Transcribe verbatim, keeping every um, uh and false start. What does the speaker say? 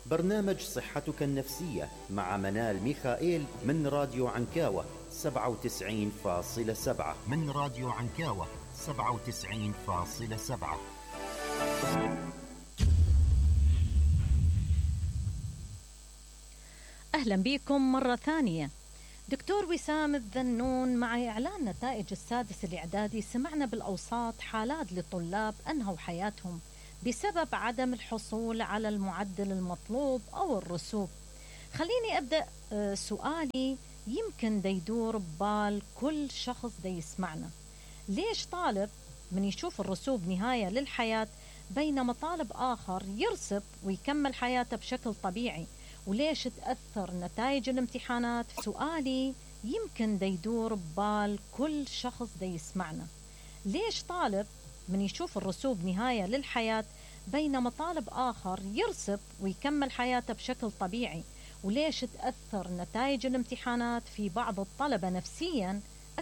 برنامج صحتك النفسية مع منال ميخائيل من راديو عنكاوة سبعة وتسعين فاصلة سبعة من راديو عنكاوة سبعة وتسعين فاصلة سبعة. أهلا بكم مرة ثانية. دكتور وسام الذنون، مع إعلان نتائج السادس الإعدادي سمعنا بالأوساط حالات لطلاب أنهوا حياتهم بسبب عدم الحصول على المعدل المطلوب أو الرسوب. خليني أبدأ سؤالي يمكن دا يدور ببال كل شخص دا يسمعنا. ليش طالب من يشوف الرسوب نهاية للحياة بينما طالب آخر يرسب ويكمل حياته بشكل طبيعي؟ وليش تأثر نتائج الامتحانات؟ سؤالي يمكن دا يدور ببال كل شخص دا يسمعنا. ليش طالب من يشوف الرسوب نهاية للحياة بينما طالب آخر يرسب ويكمل حياته بشكل طبيعي؟ وليش تأثر نتائج الامتحانات في بعض الطلبة نفسياً